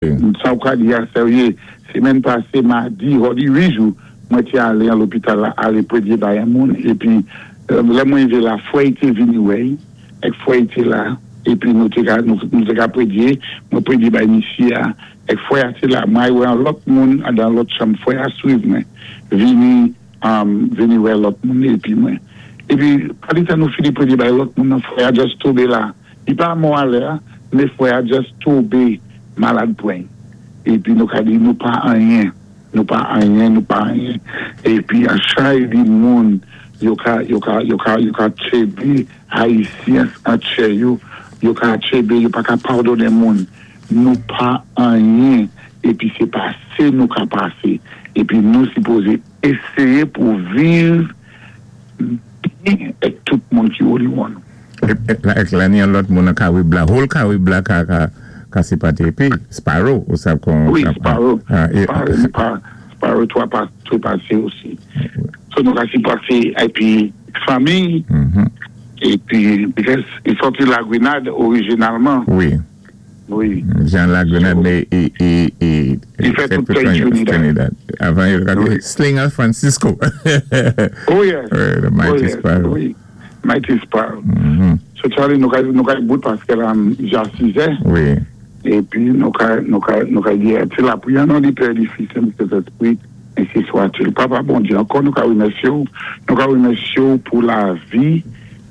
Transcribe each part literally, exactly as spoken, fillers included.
Sa ou ka di a sèryé, sémèn pasé, madi, hòdi wi jou, mwen té alé an lopital la, alé prédyé bay an moun, épi lè mwen rivé la, fwè i té vini wè, èk fwè i té la, épi nou té ka, nou té ka prédyé, mwen prédyé bay misyé a, èk fwè a té la, mwen wè an lòt moun, dan lòt chanm, fwè a swiv mwen, vini, vini wè lòt moun, épi mwen. Épi, pa di tan nou fini prédyé bay lòt moun, nan fwè a just tonbé la. I pa mò alè, mé fwè a just tonbé malad pwen. Épi nou ka di nou pa anyen, nou pa anyen, nou pa anyen. Épi an chay di moun, yo ka, yo ka, yo ka, yo ka tchébé Ayisyen an tchè yo, yo ka tchébé, yo pa ka padoné moun. Nou pa anyen, épi sé pasé nou ka pasé. Épi nou sipozé éséyé pou viv byen èk tout moun ki oliwon nou. Èk la ni an lòt moun an Karib la, whole Karib la ka, ka, ka sipaté épi, Sparrow, ou sav kon... Wi, Sparrow. Sparrow, Sparrow, twa pasé osi. So nou ka sipaté épi fanmi, épi, because i sòti La Grenade orijinalman. Wi. Wi. Jean La Grenade, mé i, i, i... I fè tout tan Trinidad. Avan yo ka Slinger Francisco. Oh yes. The Mighty Sparrow. Wi. Mighty Sparrow. So Charlie, nou ka, nou ka bout paské la ja sizè. Wi. Épi nou ka, nou ka, nou ka di, sé lapriyè nan di Pè, di Fis, di Sentespri, ensi swa-t-il. Papa Bondyé, ankò nou ka wimèsyé ou, nou ka wimèsyé ou pou lavi,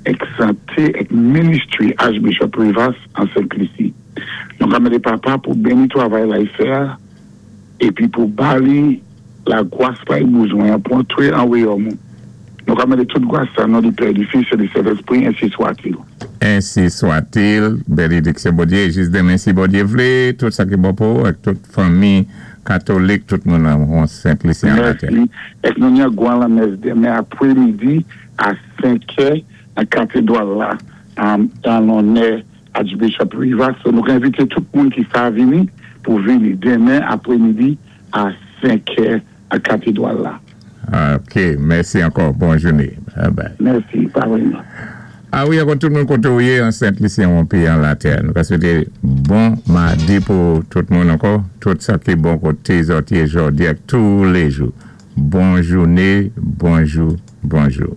èk santé, èk ministry Archbishop Rivas an Sent Lisi. Nou ka mandé Papa pou béni twavay la i fè, épi pou ba li lagwas pa i bezwen pou antré an wayòm. Nou ka mandé tout gwas sa nan di Pè, di Fis, di Sentespri, ensi swa-t-il. Ensi swa-t-il, bénédiksyon Bondyé, jis denmen si Bondyé vlé, tout sa ki bon pou, ak tout fanmi katolik, tout moun an Sent Lisi an latè. Mèsi. Èk nou ni gwan lamès denmen apwémidi a senkè an katedwal la, an lonè Archbishop Rivas. So nou ka envité tout moun ki sa vini pou vini denmen apwémidi a senkè an katedwal la. Ok, mèsi ankò. Bon jouné. Bye bye. Mèsi, parèyman. A wi, ankò tout moun koté ou yé an Sent Lisi an pi an latè. Nou ka swété bon madi pou tout moun ankò. Tout sa ki bon koté zòt yé jòdi ak tou lé jou. Bon jouné, bonjou, bonjou.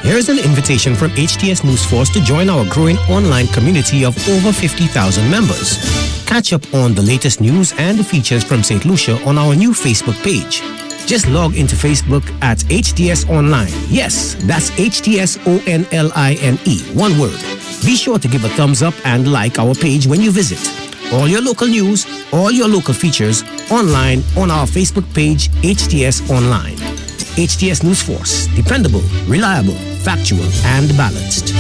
Here's an invitation from H T S News Force to join our growing online community of over fifty thousand members. Catch up on the latest news and features from Saint Lucia on our new Facebook page. Just log into Facebook at H T S Online. Yes, that's H T S O N L I N E, one word. Be sure to give a thumbs up and like our page when you visit. All your local news, all your local features online on our Facebook page, H T S Online. H T S News Force, dependable, reliable, factual, and balanced.